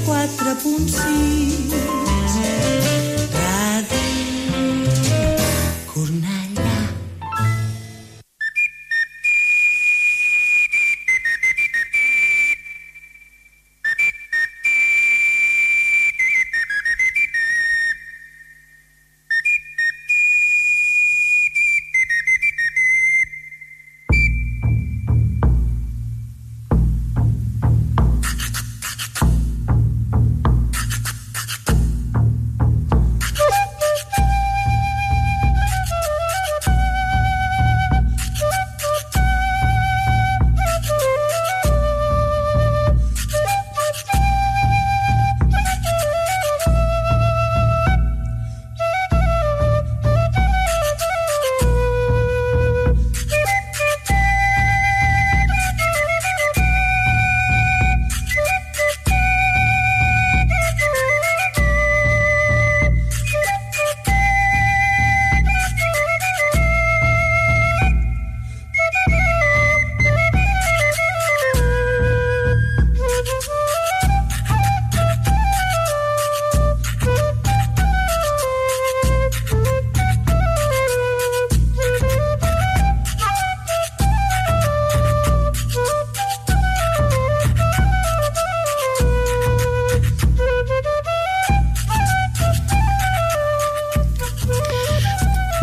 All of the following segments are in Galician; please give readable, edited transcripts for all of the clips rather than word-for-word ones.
104.6 Ràdio Cornellà.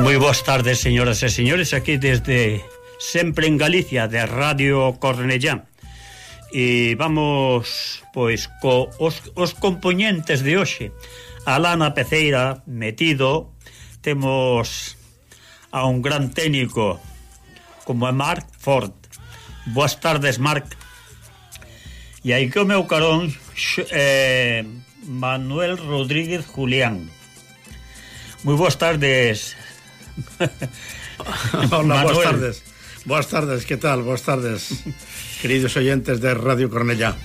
Moi boas tardes, señoras e señores, aquí desde sempre en Galicia, de Radio Cornellá. E vamos, pois, os componentes de hoxe. Alá na peceira, metido, temos a un gran técnico como é Marc Ford. Boas tardes, Marc. E aí que o meu carón Manuel Rodríguez Julián. Moi boas tardes. Hola, boas tardes, que tal? Boas tardes, queridos oyentes de Radio Cornellá.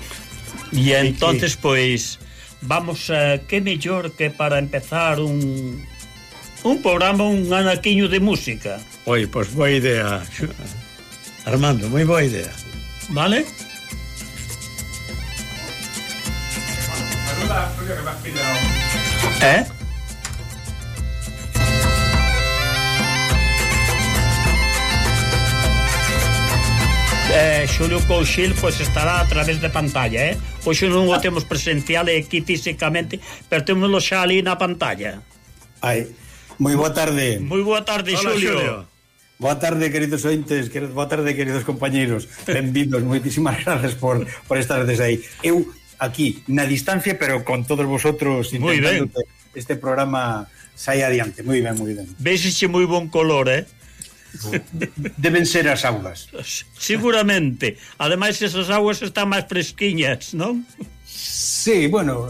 E entonces, pois, vamos a... que mellor que para empezar un programa, un anaquiño de música. Oi, pois boa idea, Armando, moi boa idea. Vale? Xulio Couchil pois estará a través de pantalla, Hoxe non o temos presencial aquí físicamente, pero témoslo xa ali na pantalla. Ai, moi boa tarde. Moi boa tarde, Hola, Xulio. Boa tarde, queridos ointes, boa tarde, queridos compañeiros. Benvidos, moitísimas grazas por estar desde aí. Eu aquí, na distancia, pero con todos vosotros intentando que este programa saia adiante. Moi ben, moi ben. Véxese moi bon color, Deben ser as augas. Seguramente. Ademais, esas augas están máis fresquiñas, non? Sí, bueno,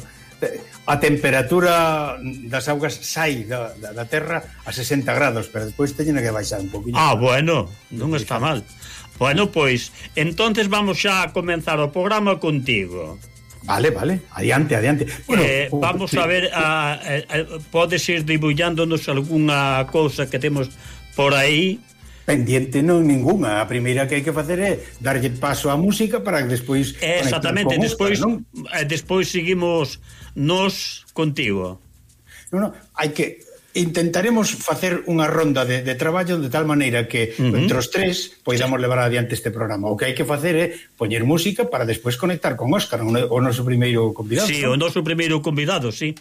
a temperatura das augas sai da terra a 60 grados, pero despois teñen que baixar un poquinho. Bueno, non está mal. Bueno, pois, entonces vamos xa a comenzar o programa contigo. Vale, adiante. Bueno, vamos a ver, podes ir debullándonos algunha cousa que temos por aí. Pendiente non ningunha. A primeira que hai que facer é darlle paso á música para que despois exactamente, despois seguimos nos contigo. Non, hai que intentaremos facer unha ronda de traballo de tal maneira que entre os tres poidamos levar adiante este programa. O que hai que facer é poñer música para despois conectar con Óscar, o noso primeiro convidado. Sí, o noso primeiro convidado, sí.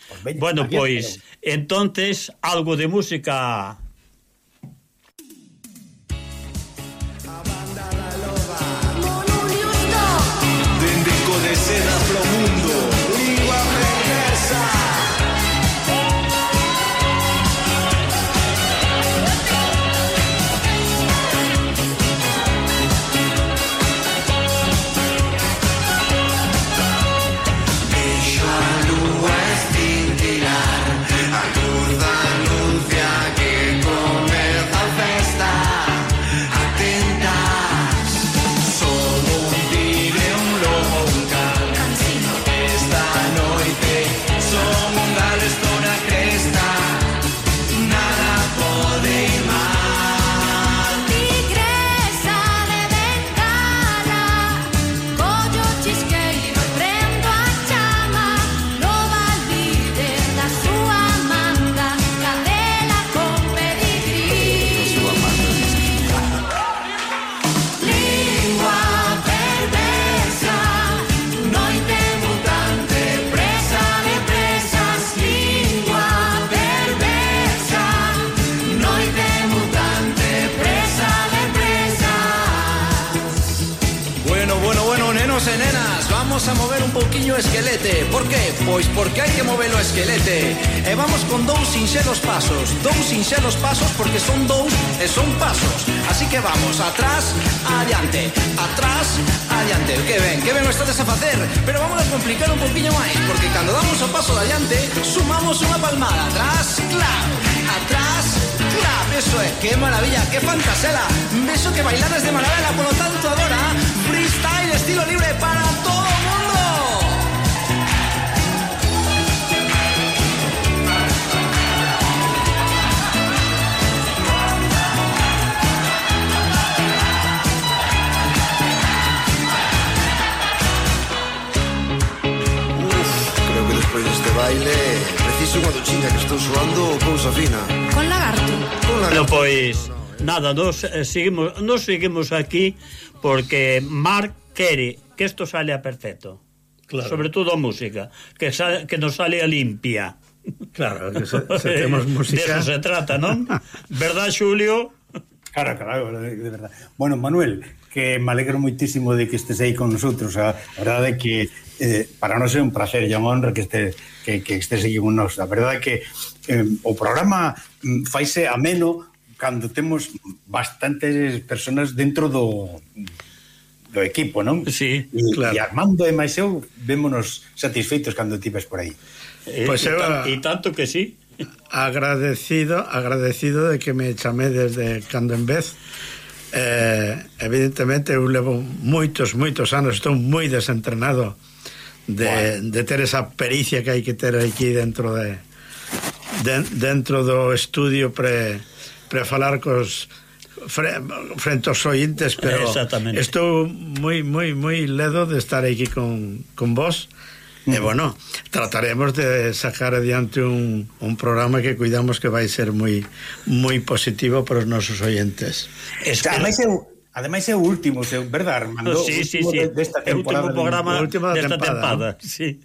Pues veña, bueno, pois, entonces algo de música. Anuncia que nenas, vamos a mover un pouquiño o esquelete. Por qué? Pois porque hai que mover o esquelete. E vamos con dous sinxelos pasos porque son dous e son pasos. Así que vamos, atrás, adiante, que ben o estades a facer. Pero vamos a complicar un pouquiño máis, porque cando damos o paso de adiante, sumamos unha palmada. Atrás, clap, atrás, clap. Eso é, que maravilla, que fantasela. Beso que bailaras de maravilla. Por lo tanto agora, freestyle estilo libre para todo o mundo. Creo que despois deste baile preciso unha duchiña, que estou suando cousa fina. Con lagarto. No, pois nada, nos seguimos aquí porque Marc quere que isto sale a perfecto. Claro. Sobre todo a música, que nos sale a limpia. Claro, que se temos música. De eso se trata, non? Verdad, Xulio? Claro, de verdad. Bueno, Manuel, que me alegro moitísimo de que estés aí con nosotros. A verdade é que para nós é un placer e unha honra que estés aí con nós. A verdade é que o programa faise ameno cando temos bastantes personas dentro do equipo, non? Sí, claro. E Armando e máis eu vémonos satisfeitos cando ti ves por aí. Pois E tanto que sí. Agradecido de que me chamé desde cando en vez. Evidentemente eu levo moitos anos, estou moi desentrenado de ter esa pericia que hai que ter aquí dentro do estudio pre falar frente aos ointes, pero estou moi ledo de estar aquí con vos. E bueno, trataremos de sacar adiante un programa que cuidamos que vai ser moi positivo para os nosos ointes. Ademais é o último, verdad, Armando? Sí. Desta temporada. O último programa desta temporada. Sí.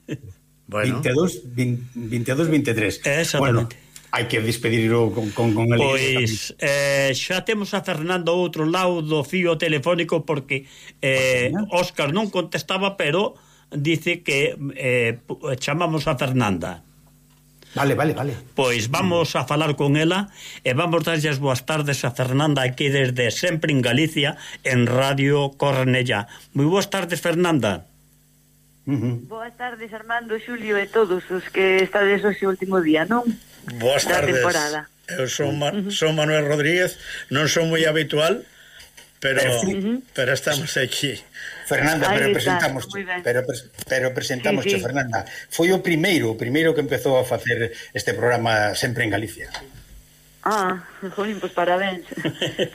Bueno. 22-23. Exactamente. Bueno, hai que despedirlo con el. Pois xa temos a Fernanda ao outro lado do fío telefónico porque Óscar non contestaba, pero dice que chamamos a Fernanda. Vale. Pois vamos a falar con ela e vamos darlle as boas tardes a Fernanda aquí desde Sempre en Galicia en Radio Cornellá. Moi boas tardes, Fernanda. Boas tardes, Armando, Xulio e todos os que estades hoxe o último día, non? Boas tardes. Temporada. Eu son Manuel Rodríguez, non son moi habitual, pero estamos aquí. Fernanda, pero presentamos sí. Fernanda. Foi o primeiro que empezou a facer este programa Sempre en Galicia. Jolín, pois parabéns.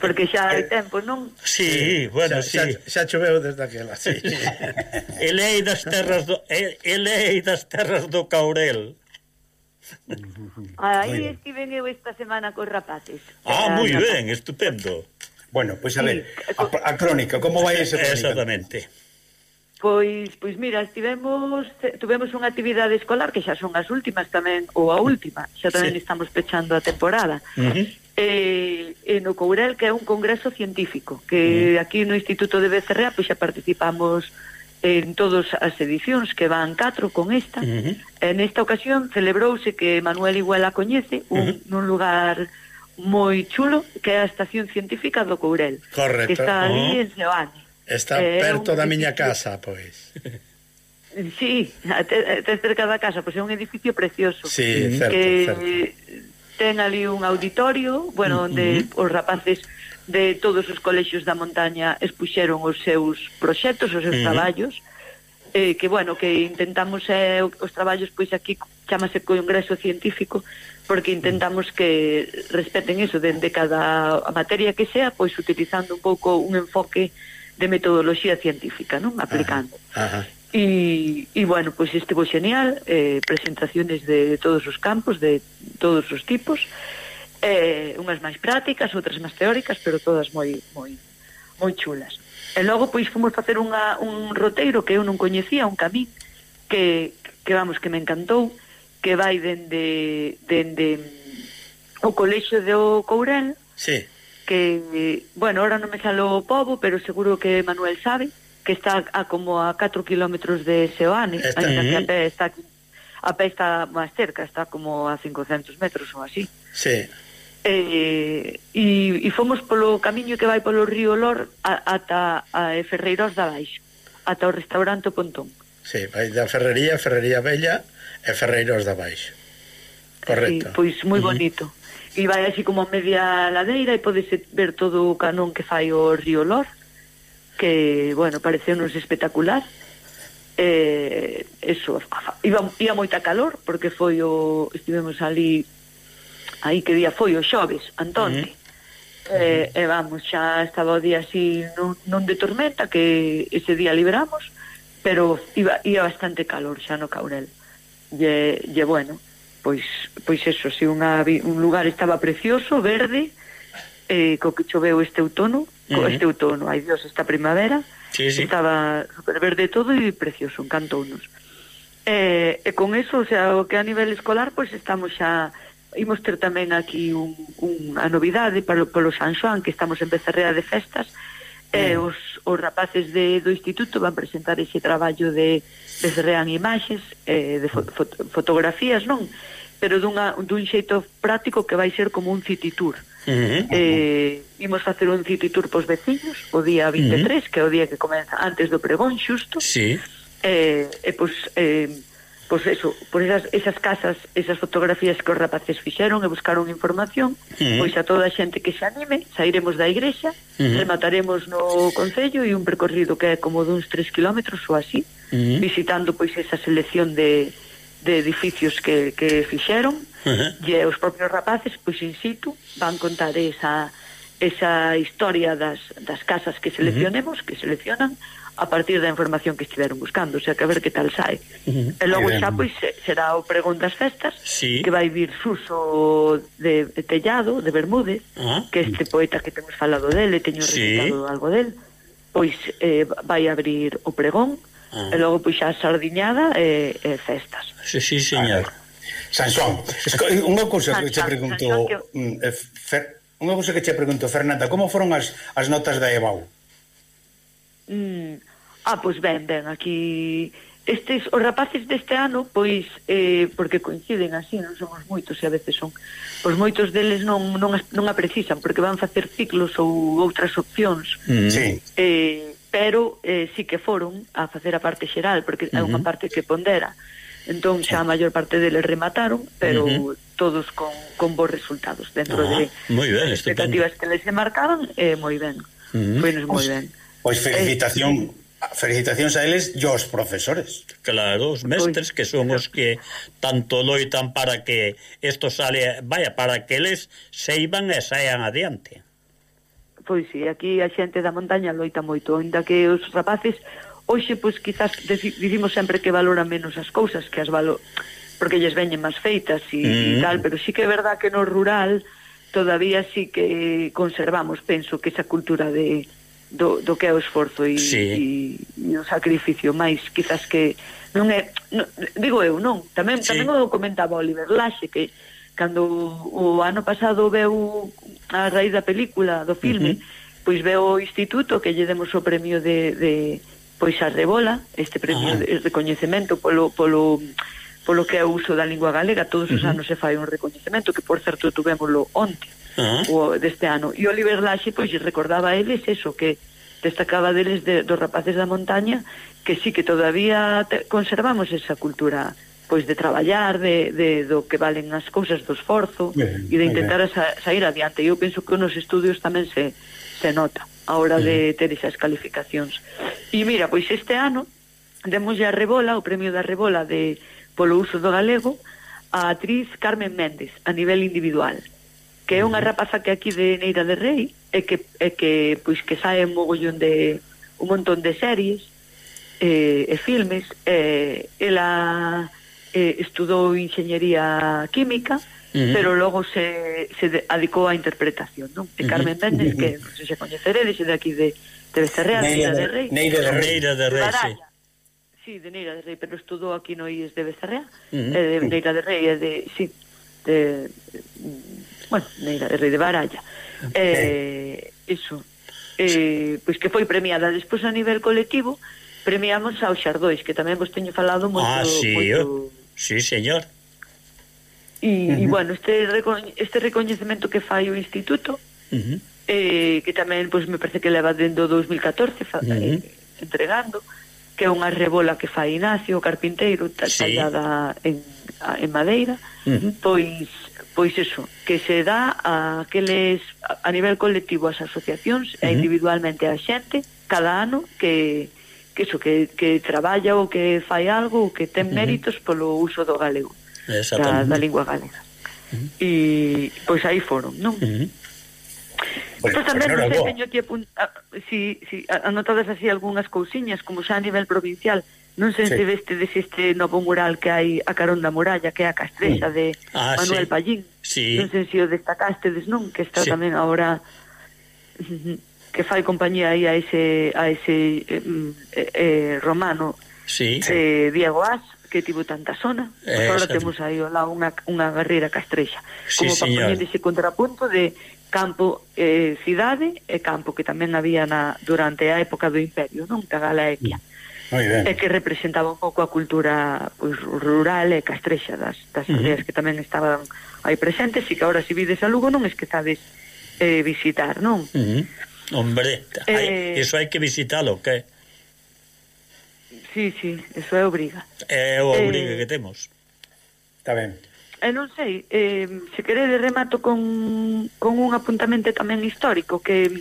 Porque xa hai tempo, non? Sí, bueno, xa choveu desde aquela, sí. Elei das terras do Caurel. Aí estiven eu esta semana cos rapaces. Moi ben, estupendo. Bueno, pois a ver, a crónica, como vai ese crónica? Exactamente. Pois mira, tuvemos unha actividade escolar que xa son as últimas tamén, ou a última, xa tamén estamos pechando a temporada. No Courel, que é un congreso científico, que aquí no Instituto de Becerrea pois xa participamos en todas as edicións, que van 4 con esta. En esta ocasión celebrouse, que Manuel igual a coñece, nun lugar moi chulo, que é a Estación Científica do Courel. Correcto. Que está ali en Seoane. Está perto da miña casa, pois. Sí, até cerca da casa, pois é un edificio precioso. Sí, certo. Ten ali un auditorio, bueno, onde os rapaces de todos os colexios da montaña expuxeron os seus proxectos, os seus traballos, que bueno, que intentamos os traballos, pois aquí chamase Congreso Científico, porque intentamos que respeten eso dende cada materia que sea, pois utilizando un pouco un enfoque de metodoloxía científica, non? Aplicando. E bueno, pois estivo genial, presentaciones de todos os campos, de todos os tipos, unhas máis prácticas, outras máis teóricas, pero todas moi chulas. E logo pois fomos facer un roteiro que eu non coñecía, un camín que me encantou, que vai dende o colexio do Courel, sí, que, bueno, ahora non me salo o pobo, pero seguro que Manuel sabe, que está a como a 4 kilómetros de Seoane, ainda que a pé está máis cerca, está como a 500 metros ou así. Sí. E fomos polo camiño que vai polo río Lor ata a Ferreiros da Baixo, ata o restaurante O Pontón. Sí, vai da Ferrería Bella e Ferreiros da Baixo. Correcto. Sí, pois moi bonito. E vai así como a media ladeira e podes ver todo o canón que fai o río Lor, que, bueno, pareceu-nos espectacular. Eso, ia moita calor, porque estivemos ali, aí que día foi, o xoves, Antonte. E vamos, xa estaba o día así non de tormenta, que ese día liberamos, pero ia bastante calor xa no Caurel. E bueno, pois eso, si un lugar estaba precioso, verde, co que choveu este outono, ai Dios, esta primavera, estaba super verde todo e precioso, encantounos. E con eso, o sea, o que a nivel escolar, pois estamos xa, imos ter tamén aquí unha novidade polo San Xoán, que estamos en Becerrea de festas, os rapaces do instituto van presentar ese traballo de Becerrean imaxes, de fotografías, non? Pero dun xeito práctico que vai ser como un city tour. Imos facer un city tour pos veciños o día 23, que é o día que comeza antes do pregón xusto. Pois eso, por esas casas, esas fotografías que os rapaces fixeron e buscaron información, pois a toda a xente que se anime, sairemos da igrexa, remataremos no concello e un percorrido que é como duns 3 kilómetros ou así, visitando pois esa selección de edificios que fixeron, e os propios rapaces pois in situ van contar esa historia das casas que seleccionemos, que seleccionan a partir da información que estiveron buscando, o sea, que a ver que tal sai. E logo xa pois será o pregón das festas, que vai vir Suso de Tellado, de Bermúdez, que este poeta que temos falado dele, teño recitado algo del, pois vai abrir o pregón, e logo pois xa sardiñada e festas. Sí, señor. Sansón, unha cousa que che pregunto, Fernanda, como foron as notas da EBAU? Pois ben, aquí os rapaces deste ano, pois porque coinciden así, non somos moitos e a veces son, pois moitos deles non a precisan porque van facer ciclos ou outras opcións, pero sí que foron a facer a parte xeral, porque é unha parte que pondera, entón xa a maior parte deles remataron, pero todos con bons resultados dentro de as expectativas que les marcaban, moi ben, foi-nos moi ben. Pois felicitacións a eles e aos profesores. Claro, os mestres que son os que tanto loitan para que isto sale, para que eles seiban e saian adiante. Pois sí, aquí a xente da montaña loita moito, ainda que os rapaces hoxe, pois quizás dicimos sempre que valoran menos as cousas que porque lles veñen máis feitas e tal, pero sí que é verdad que no rural todavía sí que conservamos, penso, que esa cultura do que é o esforzo e o sacrificio, máis quizás que non é, digo eu, non, tamén o comentaba Oliver Laxe, que cando o ano pasado veu a raíz da película, do filme, pois veu o instituto que lle demos o premio de pois a Rebola, este premio de recoñecemento polo que é o uso da lingua galega, todos os anos se fai un recoñecemento, que por certo tuvémoslo onte, deste ano, e Oliver Laxe pois recordaba a eles eso, que destacaba deles dos rapaces da montaña, que sí que todavía conservamos esa cultura pois de traballar, do que valen as cousas, do esforzo e de intentar sair adiante. Eu penso que nos estudios tamén se nota a hora de ter esas calificacións. E mira, pois este ano demoslle a Rebola, o premio da Rebola polo uso do galego, a actriz Carmen Méndez a nivel individual, que é unha rapaza que aquí de Neira de Rei e que pois que sae un montón de series e filmes. Ela estudou enxeñería química, pero logo se adicou á interpretación, non? E Carmen Méndez, que non sei se coñeceredes, de aquí de Becerrea, Neira de Rei, sí, de Neira de Rei, pero estudou aquí no IES de Becerrea, de Neira de Rei, Neira de Rei de Baralla, iso. pois que foi premiada. Despois a nivel colectivo premiamos ao Xardóis, que tamén vos teño falado moito. Sí, señor. E bueno, este recoñecemento que fai o Instituto, que tamén pois me parece que leva dende o 2014 entregando, que é unha rebola que fai Ignacio, o carpinteiro, tallada en madeira, pois eso, que se dá a aqueles a nivel colectivo ás asociacións e individualmente a xente cada ano que traballa ou que fai algo ou que ten méritos polo uso do galego, da lingua galega. E pois aí foron, non? Pois tamén non sei, teño que anotadas así algunhas cousiñas, como xa a nivel provincial. Non sei se vestedes este novo mural que hai a carón da muralla, que é a Castrexa de Manuel Pallín. Non sei se o destacastedes, non? Que está tamén agora que fai compañía aí a ese romano Diego As, que tivo tanta zona. Agora temos aí lá unha guerreira Castrexa, como para poñer ese contrapunto de campo, cidade e campo, que tamén había durante a época do Imperio, non? Da Galaequia. E que representaba un pouco a cultura pois, rural e castrexa das aldeas que tamén estaban aí presentes, e que agora se vides a Lugo non esquezades visitar, non? Hombre, eso hai que visitalo, que? Sí, eso é obriga. É o obriga que temos. Está ben. Non sei, se queredes remato con un apuntamento tamén histórico que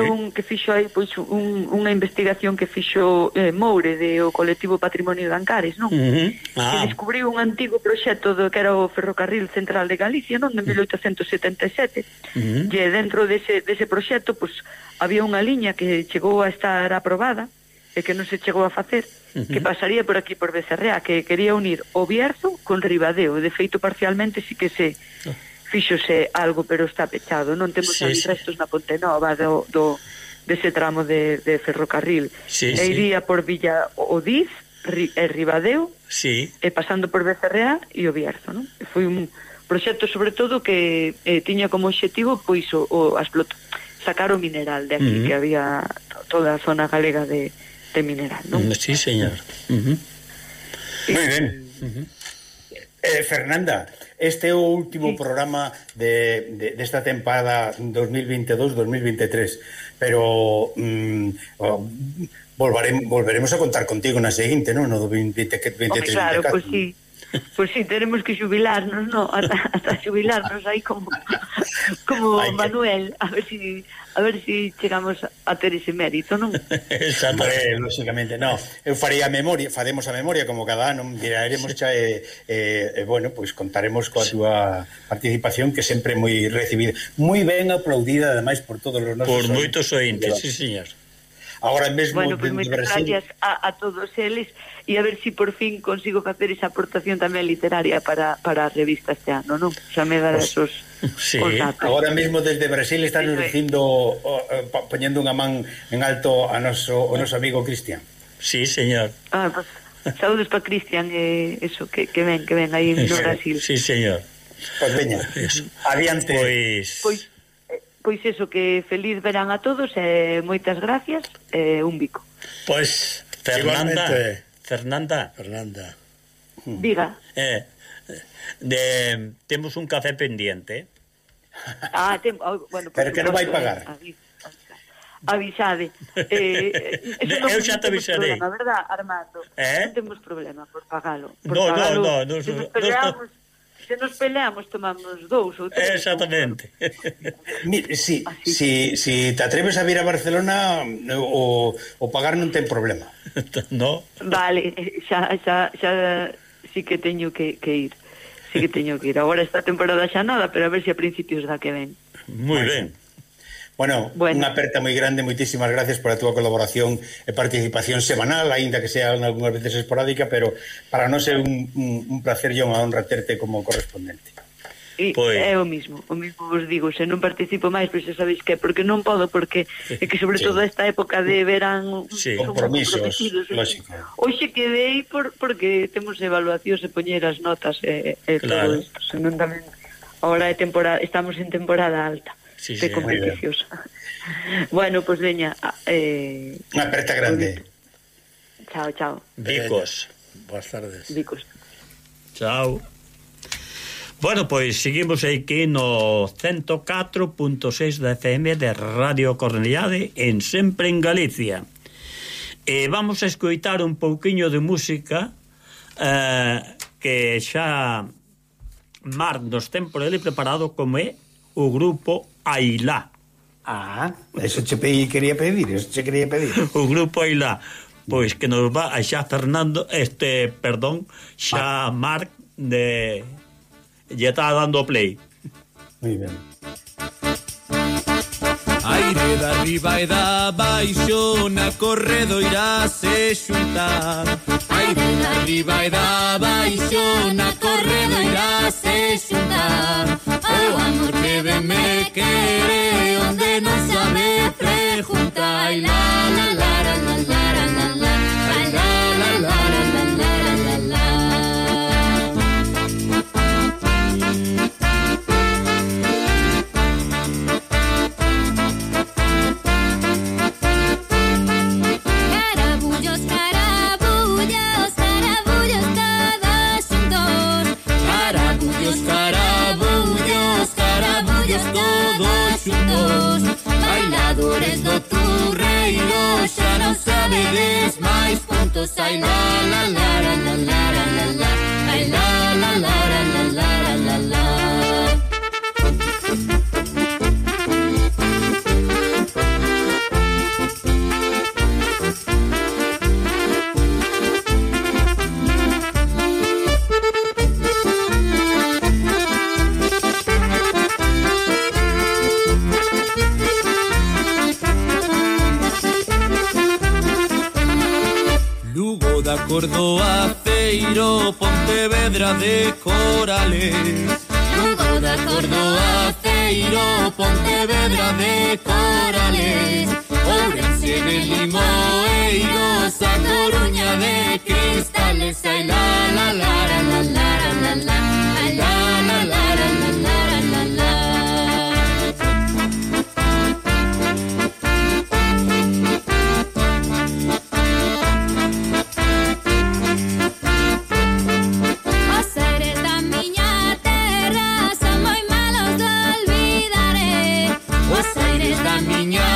un que fixo aí pois unha investigación que fixo Moure do colectivo Patrimonio de Ancares, non? Que descubriu un antigo proxecto que era o Ferrocarril Central de Galicia, non? De 1877. E dentro dese proxecto pois había unha liña que chegou a estar aprobada e que non se chegou a facer, que pasaría por aquí por Becerrea, que quería unir o Bierzo con Ribadeo. De feito, parcialmente sí que se fíxose algo, pero está pechado. Non temos ali restos na Ponte Nova dese tramo de ferrocarril. E iría por Villa Odiz e Ribadeo, e pasando por Becerrea e o Bierzo, non? Foi un proxecto sobre todo que tiña como objetivo pois sacar o mineral de aquí, que había toda a zona galega de mineral, non? Sí, señor. Moi ben. Fernanda, este é o último programa desta temporada 2022-2023, pero volveremos a contar contigo na seguinte, non? No 2023. Claro, pois sí. Pois sí, tenemos que xubilarnos, no? Hasta xubilarnos aí como Manuel, a ver si chegamos a ter ese mérito, non? Exactamente, lógicamente, no. Eu faría a memoria, faremos a memoria como cada ano, miraremos xa bueno, pois contaremos coa túa participación, que sempre moi recibida, moi ben aplaudida ademais por todos os nosos moitos ointes, sí, señor. Agora mesmo, bueno, pues moitas gracias a todos eles, e a ver si por fin consigo facer esa aportación tamén literaria para a revista este ano, non? Xa me dará esos datos. Agora mesmo desde Brasil están nos dicindo, poñendo unha man en alto o noso amigo Cristian. Sí, señor. Pues saúdos para Cristian, eso, que ven aí no Brasil. Sí, señor. Pues veña, adiante. Pois eso, que feliz verán a todos e moitas gracias, un bico. Pois, Fernanda. Diga. Temos un café pendiente. Bueno, pero que non vai pagar. Avisade. Eu xa te avisarei. Non temos problema, verdad, Armando? Non temos problema por pagalo. No. Se nos peleamos, tomamos 2 ou 3. Exactamente. Si te atreves a vir a Barcelona, o pagar non ten problema. No. Vale, xa sí que teño que ir. Sí que teño que ir. Agora esta temporada xa nada, pero a ver se a principios da que ven. Moi ben. Bueno, unha aperta moi grande, moitísimas gracias por a túa colaboración e participación semanal, aínda que sea algunhas veces esporádica, pero para nós é un placer e unha honra terte como correspondente. É o mismo vos digo, se non participo máis, pois xa sabéis que, porque non podo, porque é que sobre todo esta época de verán compromisos, lógico. Hoxe quedei porque temos evaluacións e poñer as notas e todo isto, senón tamén agora estamos en temporada alta. sí, de competicións. Bueno, pois veña, unha aperta grande. Chao. Vicos. Boas tardes. Vicos. Chao. Bueno, pois seguimos aquí no 104.6 da FM de Radio Cornellade en Sempre en Galicia. E vamos a escoitar un pouquiño de música que xa Mar nos ten por ele preparado, como é o grupo Ailá. Eso che quería pedir. O grupo Ailá, pois que nos va a xa Fernando, xa Marc de ya está dando play. Muy bien. Aire da arriba e da baixo na corredoira se xuntar. Aire da arriba e da baixo na corredoira se xuntar. O amor que de me quere onde non sabe preguntar. Ai la la la la la la la la. Ai la la la la la la la la. Todos xuntos, bailadores do turreiro, xa non sabedes máis puntos. Ai la la la la la la la la, ai la la la la la la la la. Da Córdoba, Feiro, Pontevedra de Corales. Lugo da Córdoba, Feiro, Pontevedra de Corales. Ourense de Limoeiros, a Coruña de Cristales. Ai la la la la la la la la, ai la la la la la la la la. Miña